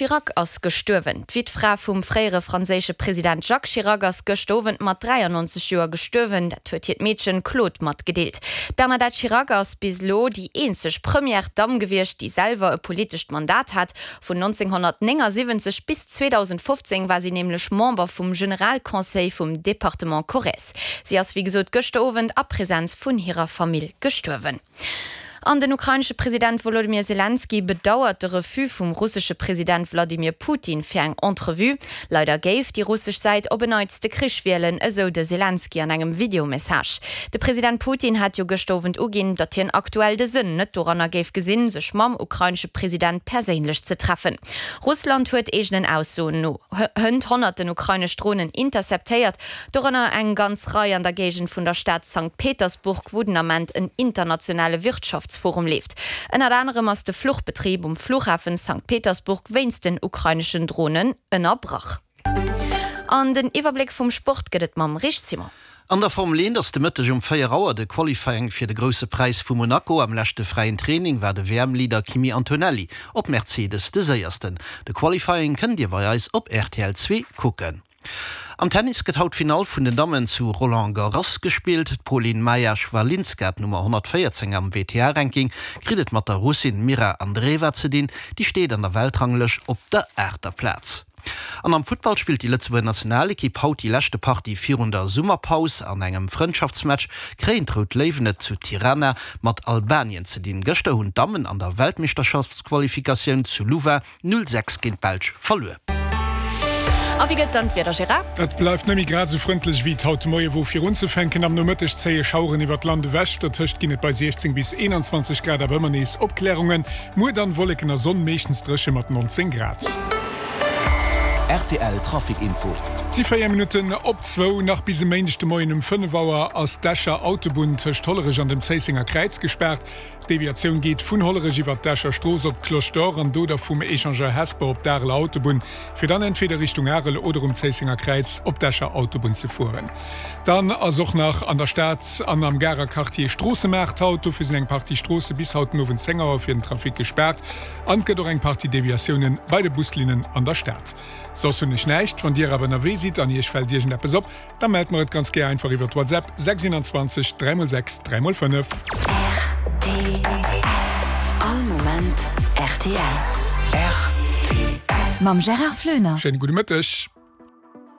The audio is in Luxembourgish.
Chirac ass gestuerwen. D'Wittfra vum fréiere franséische President Jacques Chirac ass gëscht Owend mat 93 Joer gestuerwen. Dat huet hiert Meedchen Claude matgedeelt. D'Bernadette Chirac ass bis elo déi eenzeg Première Damm gewiescht, déi selwer e politescht Mandat hat. Vun 1979 bis 2015 war si nämlech Member vum Generalconseil vum Departement Corrèze. Si ass wéi gesot gëschter Owend a Presenz vun hirer Famill gestuerwen. An den ukrainesche President Wolodymyr Selenskyj bedauert de Refus vum russesche President Wladimir Putin fir eng Entrevue. Leider géif déi russesch Säit op en Neits de Krich wielen, esou de Selenskyj an engem Videomessage. De President Putin hat jo gëschter Owend uginn, datt hien aktuell de Sënn net doranner géif gesinn, sech mam ukrainesche President perséinlech ze treffen. Russland huet eegenen Aussoen no hënt honnerten ukrainesch Dronen interceptéiert. Dorënner eng ganz Rei an der Géigend vun der Stad Sankt Petersburg, wou den Ament en internationale Wirtschaftsforum leeft. Ënnert anerem ass de Fluchbetrib um Flughafen Sankt Petersburg wéinst den ukraineschen Dronen ënnerbrach. An den Iwwerbléck vum Sport gëtt et mam Rich Simon. An der Formel 1 ass de Mëtteg um 4 Auer de Qualifying fir de Grousse Präis vu Monaco. Am leschte fräien Training war de WM-Leader Kimi Antonelli op Mercedes de Séiersten. De Qualifying kënnt Dir bei eis op rtl 2 kucken. Am Tennis gëtt haut d'Finall vun den Dammen zu Roland Garros gespillt. D'Polin Maja Chwalinska, d'Nummer 114 am WTA-Ranking, kritt et mat der Russin Mirra Andreeva ze dinn. Déi steet an der Weltranglëscht op der aachter Plaz. An am Futtball spillt déi Lëtzebuerger Nationalekipp haut déi leschte Partie virun der Summerpaus. An engem Frëndschaftsmatch kréien d'Rout Léiwen et zu Tirana mat Albanien ze dinn. Gëschter hunn d'Dammen an der Weltmeeschterschaftsqualifikatioun zu Louvain 0, 6 géint d'Belsch verluer. A wéi gëtt dann d'Wieder, Gérard? Et bleift net méi grad esou frëndlech wéi et haut de Moie wor. Fir unzefänken, am Nomëtteg zéie Schaueren iwwert d'Land ewech, dertëscht ginn et bei 16 bis 21 Grad awer ëmmer nees Opklärungen. Muer dann Wolleken a Sonn, meeschtens dréche mat 19 Grad. Rtl Trafic Info. Et si 4 Minutten op zwou. Nach bis e Méindeg de Moien um 5 Auer ass d'Escher Autobunn tëscht Hollerech an dem Zéissenger Kräiz gespaart. D'Deviatioun geet vun Hollerech iwwer d'Escher Strooss op d'Cloche d'Or an do da vum Echangeur Hesper op d'Areler Autobunn, fir dann entweder Richtung Arel oder um Zéissenger Kräiz op d'Escher Autobunn ze fueren. Dann ass och nach an der Stad an am Garer Quartier Stroossemaart haut. Dofir sinn eng Partie Stroosse bis haut den Owend 10 Auer fir den Trafic gespaart an et gëtt och eng Partie Deviatioune bei de Buslinnen an der Stad. Soss hunn ech näischt. Wann Dir awer ënnerwee sidd an Iech fält iergendeppes op, Da mellt mer et ganz gär einfach iwwert WhatsApp 621 3 x 6 3 x 5. Rtl All Moment rtl. Rtl. Mam Gérard Floener. Schéine gudde Mëtteg.